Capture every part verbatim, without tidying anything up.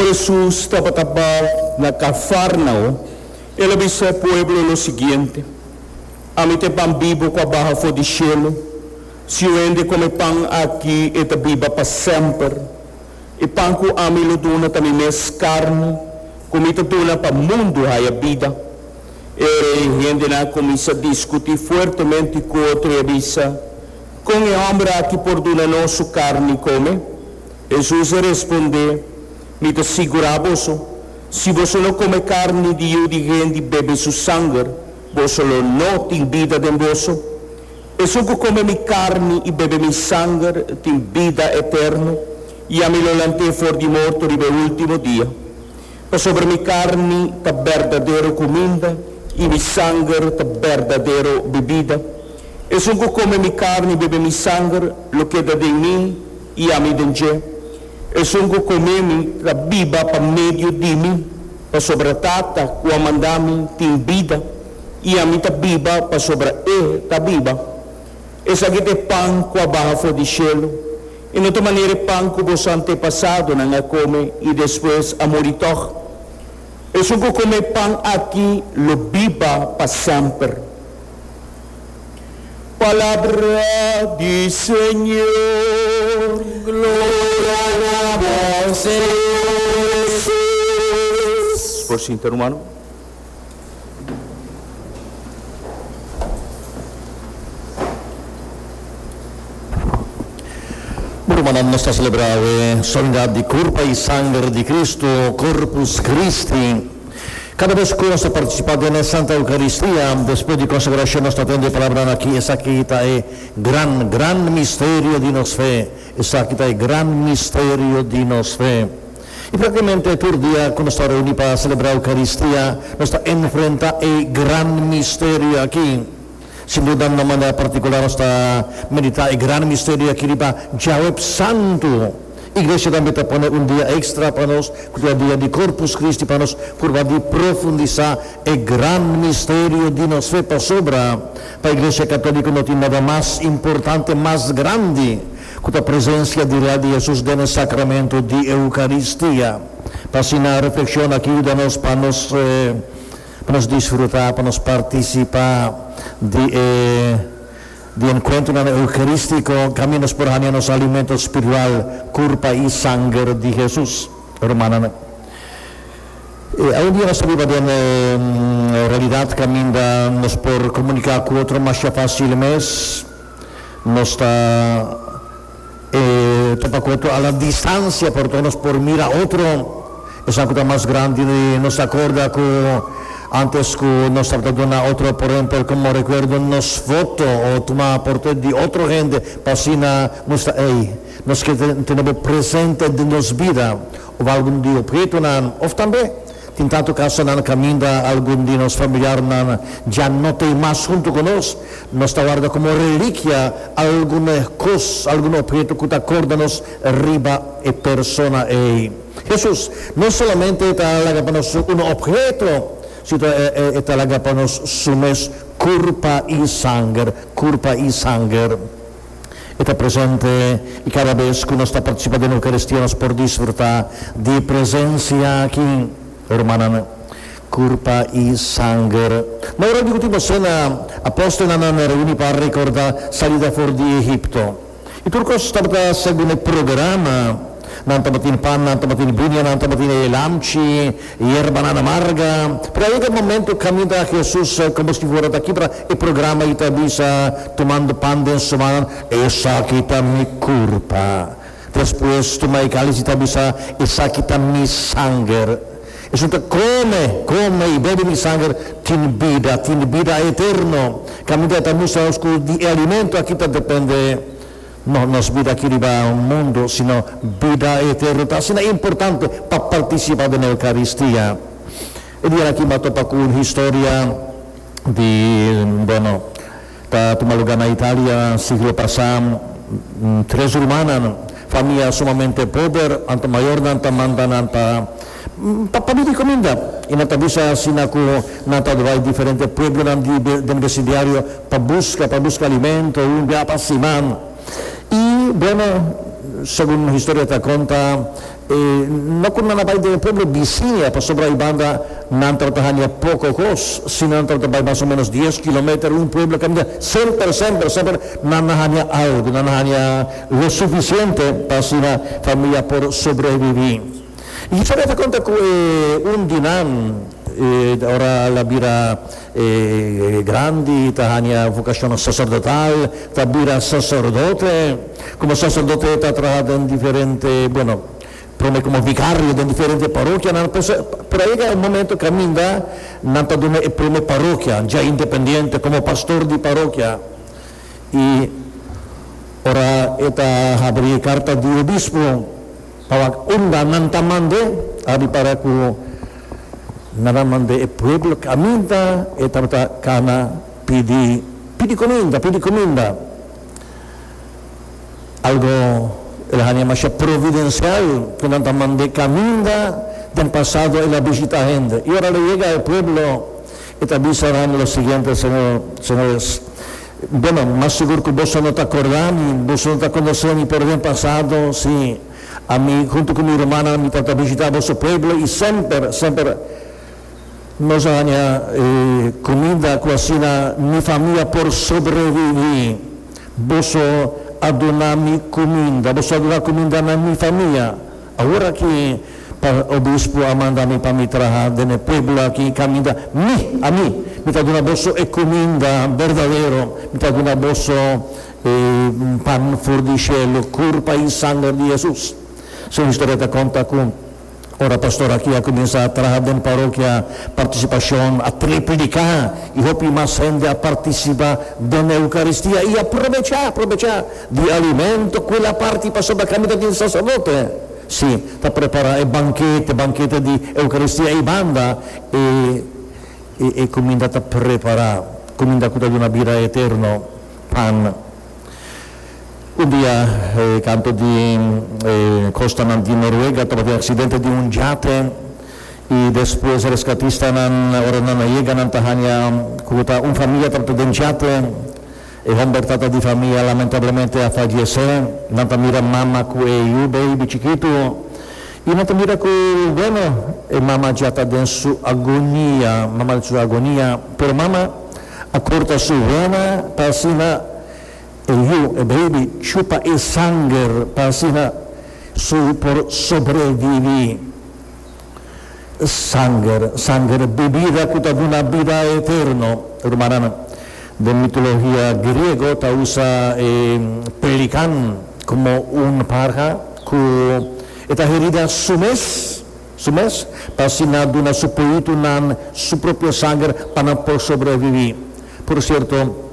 Ora Hesus tabata na Kafarnao, el a bisa e pueblo lo siguiente: Ami ta e pan bibu ku a baha for di shelu. Si un hende kome e pan aki, e ta biba pa semper. E pan ku ami lo duna ta mi mes karni, ku mi ta duna pa mundu haña bida. E hendenan a kuminsá diskutí fuertemente ku otro i a bisa: Kon e hòmber aki por duna nos su karni kome? Hesus a respondé: Mi ta sigurá boso, si boso no kome karni di Yu di Hende i bebe su sanger, boso lo no tin bida den boso. Esun ku kome mi karni i bebe mi sanger tin bida eterno, i ami lo lant'é for di morto riba e último dia. Pasobra mi karni ta berdadero kuminda i mi sanger ta berdadero bebida. Esun ku kome mi karni i bebe mi sanger lo keda den mi i ami den dje. Esun ku kome mi ta biba pa medio di mi, pasobra Tata ku a manda mi tin bida, i ami ta biba pasobra E ta biba. Esaki ta e pan ku a baha for di shelu, i no ta manera e pan ku boso antepasadonan a kome i despues a muri tòg. Esun ku kome e pan aki lo biba pa semper. Palabra di Señor. Gloria na bo, Señor Hesus. Por sinta, rumannan. Rumannan, nos ta selebrá awe Solemnidad di Kurpa i Sanger di Kristu, Corpus Christi. Kada bes ku nos ta partisipá den e Santa Eukaristia, despues di konsagrashon nos ta tende e palabranan aki, Esaki ta e gran, gran misterio di nos fe. Esaki ta e gran misterio di nos fe. I praktikamente tur dia ku nos ta reuní pa selebrá Eukaristia, nos ta enfrentá e gran misterio aki. Sin duda na manera partikular nos ta meditá e gran misterio aki riba Djaweps Santu. Iglesia tambe ta pone un dia èkstra pa nos, ku ta e dia di Corpus Christi, pa nos purba di profundisá e gran misterio di nos fe, pasobra pa Iglesia Katóliko no tin nada mas importante, mas grandi, ku ta presensia di real di Hesus den e sakramento di Eukaristia. Pa asina reflekshon aki yuda nos pa nos pa nos disfrutá, pa nos partisipá di e di enkuentronan eukarístiko kaminda nos por haña nos alimento spiritual, kurpa i sanger di Hesus. Rumannan, awendia nos ta biba den e realidat kaminda nos por komuniká ku otro masha fásil mes. Nos ta e topa ku otro a la distansia, pero tok nos por mira otro. Esan ku ta mas grandi nos ta akorda ku antes ku nos tabata duna otro, por ehempel, komo rekuerdo nos foto o tuma portret di otro hende pa asina mustra ey nos ke tene bo presente den nos bida of algun di ophetonan of tambe tin tantu kasonan kaminda algun di nos familiarnan dja no t'ei mas huntu ku nos. Nos ta warda komo relikia algun kos, algun opheto ku ta korda nos riba e persona ei. Hesus no solamente ta laga pa nos un opheto, sino e ta laga pa nos su mes kurpa i sanger, kurpa i sanger. E ta presente i kada bes ku nos ta partisipá den Eukaristia nos por disfrutá di e presensia aki, rumannan, kurpa i sanger. Na ora di ultimo sena, apòstelnan a reuní pa rekordá salida for di Egipto. I tur kos tabata segun e programa. Nan tabatin pan, nan tabatin biña, nan tabatin e lamchi, yerbanan amarga. Pero a yega e momento kaminda Hesus komo si fuera ta kibra e programa i ta bisa, tumando pan den su man, Esaki ta mi kurpa. Despues tuma e kalis i ta bisa, Esaki ta mi sanger. Esun ta kome, kome i bebe mi sanger tin bida, tin bida eterno. Kaminda e ta mustra nos ku di e alimento aki ta depende. No nos bida aki riba mundu, sino bida eterno ta asina importante pa participa den Eucaristia. E dia aki m'a topa cu un historia di, bueno, ta tuma luga na Italia siglo pasa, tres rumannan, famia sumamente pober, anto mayornan ta manda nan pa pa pidi cuminda, y nan ta bisa asina cu nan ta bai diferente pueblonan di den vecindario pa busca pa busca alimento un bia pa siman. I, bueno, Segun historia ta konta, eh, no ku nan a bai den pueblo bisiña, pasobra ei banda nan tabata haña poko kos, si nan tabata bai mas o ménos dies kilometer, un pueblo kaminda semper, semper, semper nan a haña algu, nan a haña lo sufisiente pa asina famia por sobreviví. I historia ta konta ku eh, un di nan, eh, ora el a bira eh, grandi, ta haña vokashon saserdotal, ta bira saserdote. Komo saserdote ta traha den diferente, bueno, promé komo vikario den diferente parokia, nan, pero a yega un momento kaminda nan ta dun'é e promé parokia, ya independiente, komo pastor di parokia. I ora e ta habri karta di obispo, pa unda nan ta mand'é, a ripará ku nan a mand'é e pueblo kaminda e tabata kana pidi pidi kuminda, pidi kuminda. Algu el a haña masha providensial ku nan ta mand'é kaminda den pasado el a bishitá hende. I ora el a yega e pueblo, e ta bisa nan lo siguiente: "Señor, señores, bueno, mas sigur ku boso no ta kòrda mi, boso no ta konosé mi, pero den pasado, sí, ami huntu ku mi rumannan, mi tabata bishitá boso pueblo i semper, semper nos a haña eh, kuminda ku asina mi famia por sobreviví. Boso a duna mi kuminda, boso a duna kuminda na mi famia. Awor aki pa obispo a manda mi pa mi traha den pueblo aki kaminda mi, ami, mi ta duna boso e kuminda berdadero, mi ta duna boso eh, pan for di shelu, kurpa i sanger di Hesus." E historia ta konta ku ora pastor aki a kuminsá traha den parokia, partisipashon a tripliká i hopi mas hende a partisipá den Eukaristia i a probechá, probechá di alimento ku el a parti pasobra kaminda tin saserdote. Sí, ta prepará e bankete, bankete di Eukaristia i banda e, e, e kuminda ta prepará, kuminda ku ta duna bida eterno, pan. Un dia, eh, kantu di eh, kostanan di Noruega, tabatin aksidente di un yate i despues reskatistanan, ora nan a yega, nan ta haña ku ta un famia tabata den yate. E hòmber tata di famia lamentablemente a fayesé. Nan ta mira mama ku e yu baby chikitu i nan ta mira ku, bueno, e mama ya ta den su agonia, mama den su agonia, pero mama a korta su vena pa asina e yu, e baby, chupa e sanger pa asina su por sobreviví. Sanger, sanger, bebida ku ta duna bida eterno. Rumannan, den mitologia griego ta usa eh, pelikan komo un parha ku ta herida su mes, su mes, pa asina duna su nan su propio sanger pa nan por sobreviví. Por sierto,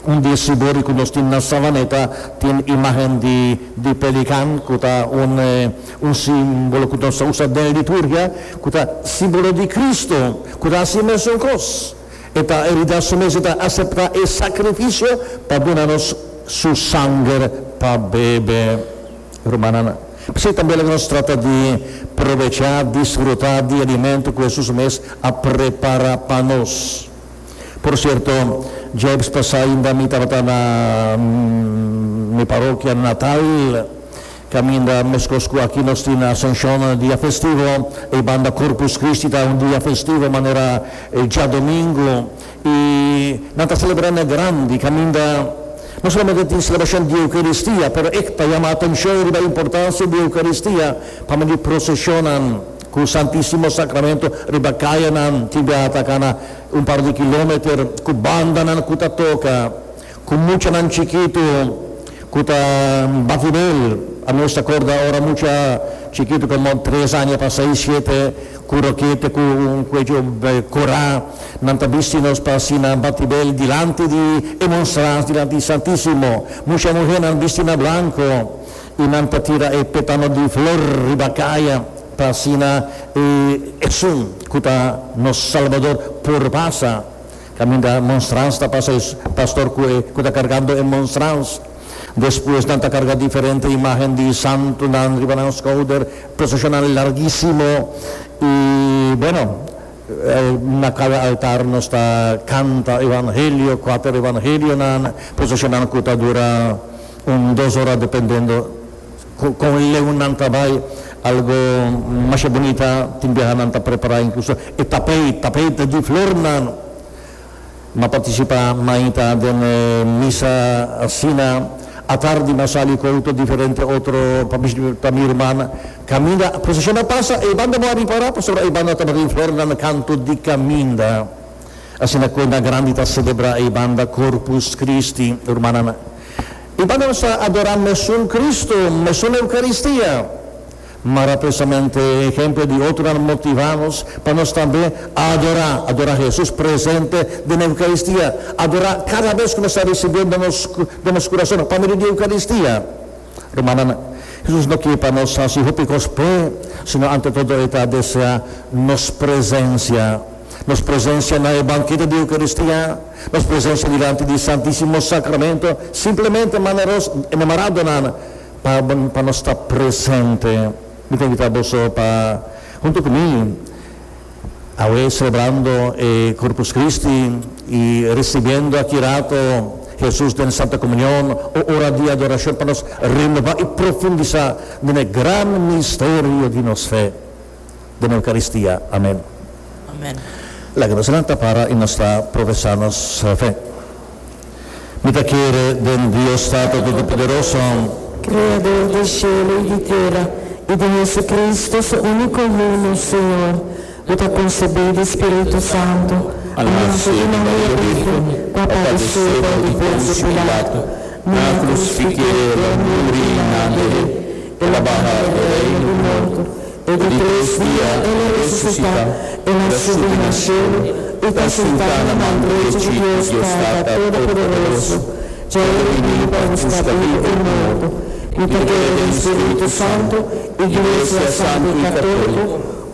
un di e sibori ku nos tin na Savaneta tin imágen di, di pelikan, ku ta un, eh, un símbolo ku nos ta usa den liturgia, ku ta símbolo di Kristu, ku ta hasi mesun kos. E ta herida su mes, ta aseptá e sakrifisio pa duna nos su sanger pa bebe. Rumannan, sí, tambe nos ta trata di probechá, disfrutá di alimento ku Hesus mes a prepará pa nos. Por sierto, djaweps pasá ainda mi tabata na mm, mi parokia natal, kaminda meskos ku aki nos tin Asunshon dia festivo, i banda Corpus Christi ta un dia festivo manera eh, djadumingu, i nan ta selebrando grandi, kaminda no solamente tin selebrashon di Eukaristia, pero e ta yama atenshon riba importansia di Eukaristia, pa medio proseshonnan ku Santísimo Sakramento riba kayanan, tin biaha ta kana un par di kilometer, ku bandanan ku ta toka, ku muchanan chikitu ku ta bati bel. Ami ta kòrda ora mucha chikitu, komo tres aña pa seis, shete, ku rokete, ku un kueyo kòrá, nan ta bisti nos pa asina bati bel dilanti di e monstrans, dilanti di Santísimo. Mucha muhénan bisti na blanku i nan ta tira e petano di flor riba kaya pa asina e esun ku ta nos Salbador por pasa. Kaminda monstrans ta pasa, pastor ku ku ta kargando e monstrans. Despues nan ta karga diferente imágen di santunan riba nan skouder, proseshonal larguísimo i, bueno, eh, na kada altar nos ta kanta evangelio, kuater evangelionan, proseshonal ku ta dura un dos ora dependiendo. Kon leu nan ta bai, algo mas bunita, tin biaha nan ta prepará inkluso e tapeit, tapeit di flornan. M'a partisipá mainta den misa asina, atardi m'a sali ku outo diferente otro pa bishita mi ruman. Kaminda proseshon a pasa, e banda bo a ripará pasobra e banda tabatin flornan kantu di kaminda. Asina ku na grandi ta selebrá e banda Corpus Christi, rumannan. E banda nos ta adorá mesun Cristo, mesun Eucaristia. Mara precisamente ehempel di otronan motivá nos pa nos tambe adorá, adorá Hesus presente den Eucaristia, adorá kada bes ku nos ta risibiendo nos den nos kurason pa medio di Eucaristia. Rumannan, Hesus no ke pa nos hasi hopi kos p'e, sino ante todo e ta deseá nos presensia, nos presensia na e bankete di Eucaristia, nos presensia dilanti di Santísimo Sacramento, simplemente manera nos enamoradonan pa pa nos ta presente. Mi ta invitá boso pa huntu ku mi awe selebrando e Corpus Christi i risibiendo aki rato Hesus den Santa Komunion o ora di adorashon pa nos renobá i profundisá den e gran misterio di nos fe den Eukaristia. Amen. Amen. Laga nos lanta para i nos ta profesá nos fe. Mi ta kere den Dios Tata Todopoderoso, Kreador di shelu i di tera, i di Jesucristo, su úniko Yu, nos Señor, ku ta konsebí di Spiritu Santu, a nase di Maria Bírgen, ku a padesé bou di Ponsio Pilato, nan a krusifik'é, el a muri i nan a der'é, el a baha e reino di morto, e di tres dia el a resusitá, el a subi na shelu i ta sintá na man drechi di Dios Tata Todopoderoso. Dja el bini pa buska bibu i morto. Mi ta kere den Spiritu Santu, Iglesia Santu i Katóliko,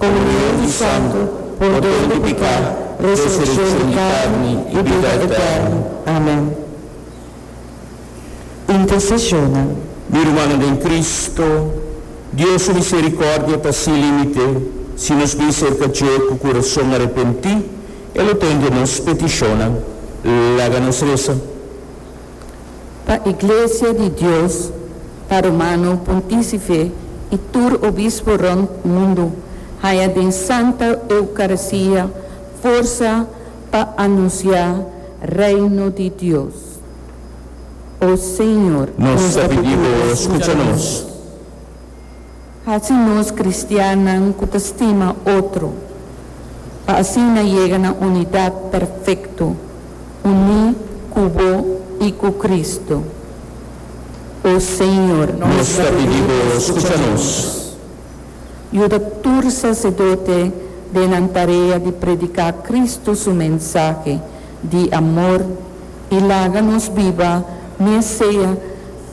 komunion di santu, pordon di piká, resurekshon di karni i bida eterno. Amen. Interseshonnan. Mi rumannan den Cristo, Dios su misericordia ta sin limite. Si nos bin cerca dje cu curason arepenti, E lo tende nos peticionnan. Laga nos reza. Pa Iglesia di Dios, pa Romano Pontícife i tur obispo rònt mundu haña den Santa Eucaristia forsa pa anunsiá Reino di Dios. O Señor. Nos ta pidi Bo, skucha nos. Hasi nos kristiannan ku ta stima otro, pa asina yega na unidat perfekto, uní ku Bo i ku Kristu. O Señor. Nos ta pidi Bo, skucha nos. Yuda tur saserdote den nan tarea di prediká Kristu su mensahe di amor i laga nos biba mes sea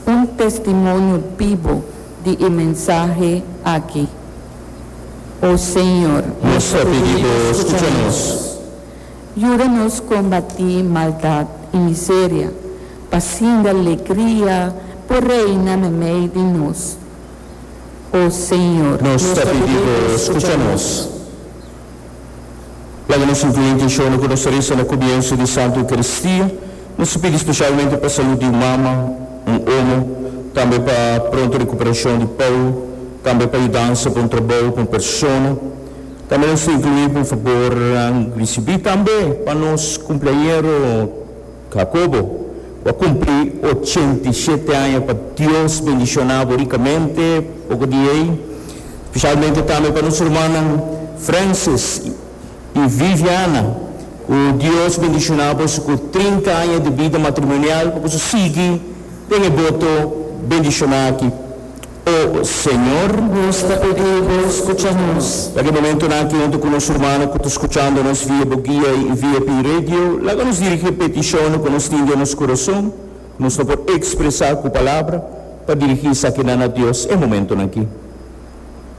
un testimonio bibu di e mensahe aki. O Señor. Nos ta pidi Bo, skucha nos. Yuda nos kombatí maldat i miseria, pa sinda alegria por reina meimei di nos. O Señor. Nos ta pidi Bo, skucha nos. Laga nos inclui intenshonnan ku nos ta resa na komienso di Santu Eukaristia. Nos ta pidi spesialmente pa salud di un mama, un omo, tambe pa pronto rekuperashon di Paul, tambe pa yudansa pa un trabou, pa un persona. Tambe nos ta inclui pa un fabornan risibí tambe pa nos kumpleañero Jacobo, ku a kumpli ochenta i shete aña. Pa Dios bendishoná bo rikamente poko di ei. Spesialmente tambe pa nos rumannan Francis i Viviana, ku Dios bendishoná boso ku trinta aña di bida matrimonial pa boso sigui den e boto bendishoná aki. O Señor. Nos ta pidi Bo scucha nos. Laga e momentonan aki hunto cu nos rumannan cu ta scuchando nos via bo guia y via P Radio, laga nos dirigi e peticionnan cu nos tin den nos curason, cu nos no por expresa cu palabra, pa dirigi esakinan na Dios e momentonan aki.